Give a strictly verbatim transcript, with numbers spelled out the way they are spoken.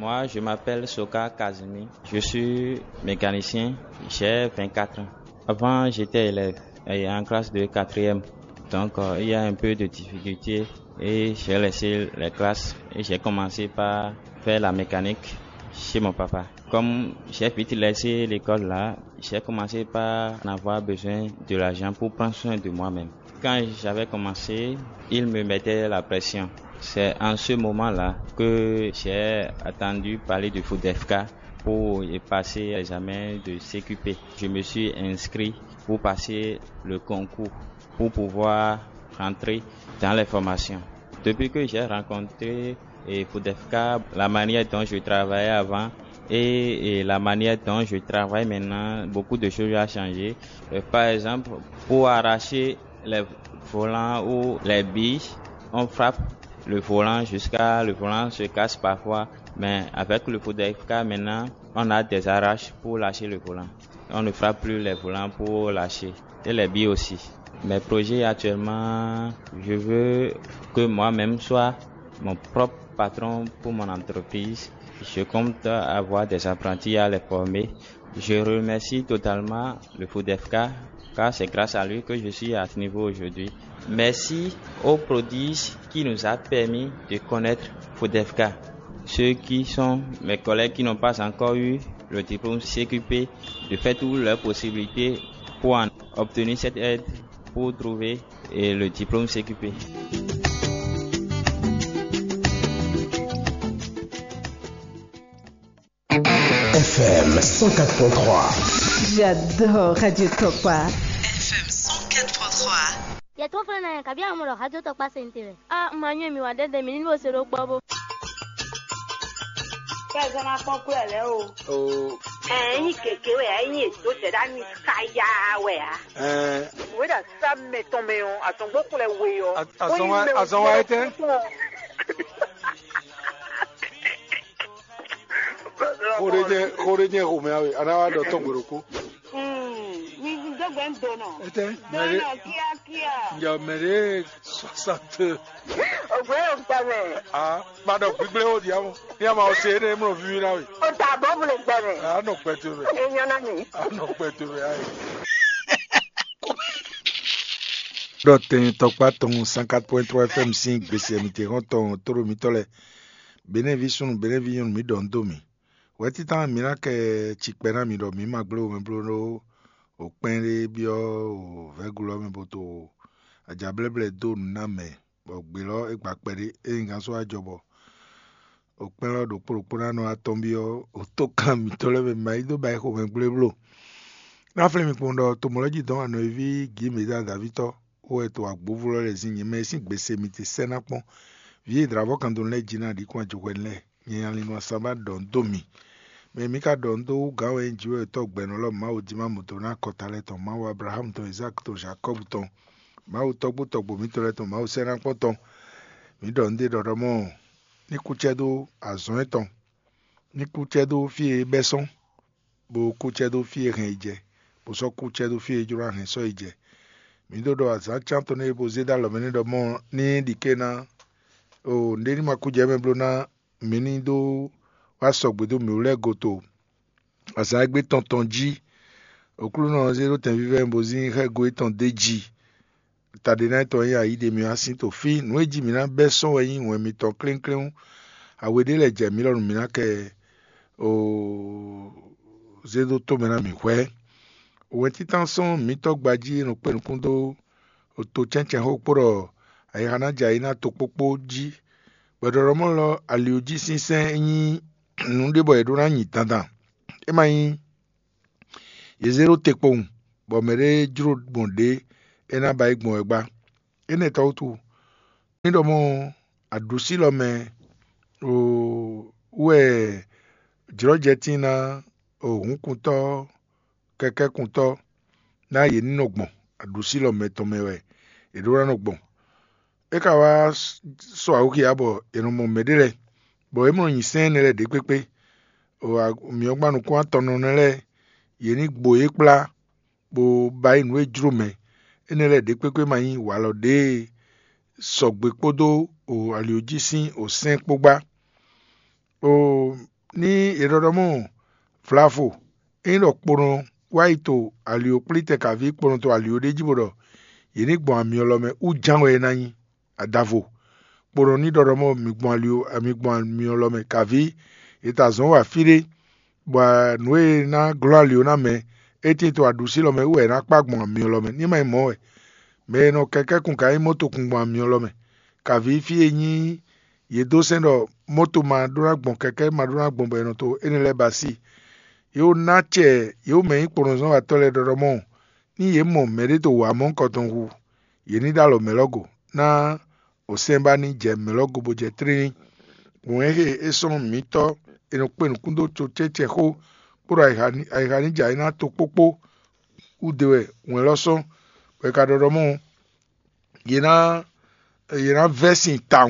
Moi, je m'appelle Soka Kazumi. Je suis mécanicien. J'ai vingt-quatre ans. Avant, j'étais élève et en classe de quatrième. Donc, euh, il y a un peu de difficulté et j'ai laissé les classes et j'ai commencé par faire la mécanique chez mon papa. Comme j'ai vite laissé l'école là, j'ai commencé par en avoir besoin de l'argent pour prendre soin de moi-même. Quand j'avais commencé, il me mettait la pression. C'est en ce moment-là que j'ai entendu parler de Food F K pour y passer l'examen de C Q P. Je me suis inscrit pour passer le concours, pour pouvoir rentrer dans les formations. Depuis que j'ai rencontré et Food F K, la manière dont je travaillais avant et, et la manière dont je travaille maintenant, beaucoup de choses ont changé. Euh, par exemple, pour arracher les volants ou les billes, on frappe le volant jusqu'à le volant se casse parfois. Mais avec le Food F K maintenant, on a des arraches pour lâcher le volant. On ne frappe plus les volants pour lâcher. Et les billes aussi. Mes projets actuellement, je veux que moi-même soit mon propre patron pour mon entreprise. Je compte avoir des apprentis à les former. Je remercie totalement le Food F K, car c'est grâce à lui que je suis à ce niveau aujourd'hui. Merci au prodige qui nous a permis de connaître Food F K. Ceux qui sont mes collègues qui n'ont pas encore eu le diplôme C Q P, de faire toutes leurs possibilités pour en obtenir cette aide, pour trouver, euh, le diplôme C Q P. F M cent quatre point trois. J'adore Radio Tokpa. F M cent quatre point trois. Yɛ tó fɛnɛ nɛ kabi amɔ lɔ hajɔ tɔ kpa se n te lɛ. A ma nyɛ mi wa dɛdɛ mi ni bo se ɖo kpɔ bo. Kɛ zɔn na kpɔn kúlɛ lɛ o. O. Ɛ nyi keke wɛ ɛ nyi edo dɛ ɖa nyi kaya wɛ a. Ɛ. Wɛ ɖa sa mɛ tɔn mɛ ɔ, atɔn gbɔ kúlɛ we ɔ. Azɔn wa etɛ. Xo ɖé jɛ xo ɖé jɛ xomɛ awe, a nǎ wá ɖɔ tɔn gbe ɖokpó. Mi dó gbɛ ń donɔ. Etɛ, mɛ ɖé. Donɔ kíákíá. Ǹjẹ́ mɛ ɖé soixante. Ògbé yóò gbà mẹ́. Ah, má ɖɔ gbígbé ó di àwọn. Ní a máa ɔ ṣe é ní mlɔ víví náà wì. Ó ta bọ́ bùlẹ̀ gbà mẹ́. A nɔ gbẹ tó bẹ̀. Èèyàn náà mi. A nɔ gbẹ tó bẹ̀ ayé. Ɖɔ tɛn tɔkpá tɔn cent quatre point trois F M sín gbèsè mǐtɛn tɔn tóɖo mǐtɔn lɛ. Benɛ́ví súnnu, benɛ́ví nyɔ́nu, mǐ ɖɔ nǔ dó mì. Wɛ̌títán mǐ ná kɛ cikpɛ ná mi ɖɔ mǐ ma gblé womɛbló ɖó o kpɛ́n ɖé byɔ́ o vɛ̌glu ɔ́ mɛ bó to ajablɛ́blɛ́ dó nǔ ná mɛ, bɔ gbě lɔ é gba kpɛɖé. Ényí gǎn sɔ́ wá jɔ bɔ o kpɛ́n lɔ ɖokpó ɖokpó ná nɔ atɔ́n byɔ́ o tókan mǐtɔn lɛ́ɛ mɛ ma yí dó ba yi xomɛ gblé bló. Ná flín mi kpɔ́n ɖɔ tomɔ̌ lɛ́ jí dɔn anɔ̌ví Gǐmeda Davítɔ́ wɛ to agbǒvú lɔ lɛ́ɛ zín nyɛ mɛ e sín gbèsè mi te sɛ́ ná kpɔ́n. Vǐ e dlǎvɔ́ kan dó lɛ́ɛ jí ná ɖǐ kún ajɔhwɛ lɛ́ɛ. Nyɛ nya lin nɔ asán ba ɖɔ nǔ dó mi. Mɛ mǐ ka ɖɔ nǔ dó wú gǎn wɛ nyí jǐ wɛ tɔ́ gbɛ̌nɔ lɔ Mawu jí má mɔ do ná akɔta lɛ́ɛ tɔn, Mawu Ablaxámu tɔn, Izáki tɔn, Jakɔ́bu tɔn, Mawu tɔ́gbó tɔ́gbó mǐtɔn lɛ́ɛ tɔn, Mawu sɛ́nákpɔ́n tɔn. Mǐ ɖɔ nǔ ɖé ɖɔ ɖɔ mɔ́, ní kú cɛ́ dó azɔn étɔn, ní kú cɛ́ dó fí e é bɛ́ sɔ́n, bó kú cɛ́ dó fí e hɛn yi jɛ, bó sɔ́ kú cɛ́ dó fí e é jló ná hɛn sɔ́ yi jɛ. Mǐ ɖó ɖɔ azǎn cán tɔn nɛ́ e bó zé dó alɔ mɛ nɛ́ ɖɔ mɔ́ ní ɖi ké ná, o nǔɖé ní ma kú jɛ mɛ bló ná mǐ ní dó wá sɔgbe dó mǐ wú lɛ́ɛ goto azǎn e gbé tɔn tɔn jí. Oklúnɔ ɔ́ zé ɖó tɛnvívɛ́ bó zín xɛ́go étɔn d'é jí. Taɖéná tɔn e nyí ayǐ ɖe mì wá sín to fí. Nǔ e jí mǐ ná bɛ́ sɔ́ wɛ nyí wɛn mitɔn klénklén. Awe ɖé lɛ́ɛ jɛ mǐ lɔ nú mǐ ná kɛ zé dó tó mɛ ná mǐ hwɛ́. Wɛntíntán sɔ́ mǐtɔn gbají e nɔ kpé nukún dó to cɛ́ncɛ́n xó kpó ɖɔ ayixa ná jɛ ayǐ ná tokpókpó jí. Gbɛɖɔɖɔmɔ́ lɔ ali jí sínsɛ́n nyí nǔ ɖé bɔ è ɖó ná nyi dandan. É ma nyí yě zé ɖó te kpowun, bɔ mɛɖé jló gbɔn ɖě é ná ba yi gbɔn wɛ gbá. Énɛ́ tɔ́ wútu, ní ɖɔ mɔ̌ aɖǔsílɔ mɛ wɛ jlɔ́jɛtín ná hǔnkuntɔ́ kɛkɛ́kuntɔ́ ná yě ní nɔ gbɔn, aɖǔsílɔ mɛ tɔn mɛ wɛ yě ɖó ná nɔ gbɔn. É ka wá sɔ awǔxia bɔ è nɔ mɔ mɛɖé lɛ́ɛ, bɔ é mɔ nyi sɛ́n énɛ́ lɛ́ɛ ɖě kpékpé. Myɔ̌gban nukún atɔnnɔ nɛ́ lɛ́ɛ, yě ní gbo yě kplá, bó ba yí nǔ e jló mɛ. Énɛ́ lɛ́ɛ ɖě kpékpé ma nyí walɔ ɖě e sɔgbe kpódó ali jí sín sɛ́n kpó gbá. O ní è ɖɔɖɔ mɔ vlavo, ényí ɖɔ kponɔ wá yi to alio kplítɛn kaví kponɔ to alio ɖé jí bó ɖɔ yě ní gbɔn amyɔ lɔ mɛ wú ján wɛ é ná nyí. Adavo kponɔ ní ɖɔɖɔ mɔ mi gbɔn alio mi gbɔn amyɔ lɔ mɛ kaví è ta zɔ̌n wa fí ɖé, bɔ nǔ e ná glɔ́ ali ɔ́ ná mɛ, é tíin to aɖusí lɔ mɛ wú wɛ è nǎ kpá gbɔn amyɔ lɔ mɛ. Ní ma nyí mɔ̌ wɛ, mɛ e nɔ kɛkɛ́ kun ka nyí mɔ̌tokun gbɔn amyɔ lɔ mɛ. Kaví fí e nyí yě dó sɛ́n ɖɔ mɔ̌to ma ɖó ná gbɔn kɛkɛ́ ma ɖó ná gbɔn bɔ è nɔ to énɛ́ lɛ́ɛ ba sí. Yě wǒ ná acɛ yě wǒ mɛ nyí kponɔzɔ́watɔ́ lɛ́ɛ ɖɔɖɔ mɔ, ní yě mɔ mɛɖé to wǎ mɔ nukɔntɔn hu, yě ní ɖó alɔ mɛ̌ lɔ go, ná osɛ́n ba ní jɛ mɛ̌ lɔ go bó jɛ tlílí. Wɛ̌nhe e sɔ́ mǐtɔn è nɔ kpe nǔkún dó cocɛ́cɛ xó, kpódó ayixa ní jɛ ayǐ ná tokpókpó wú de wɛ wɛn lɔ sɔ́, bɔ è ka ɖɔ ɖɔ mɔ yě ná yě ná vɛ́ sin tawun.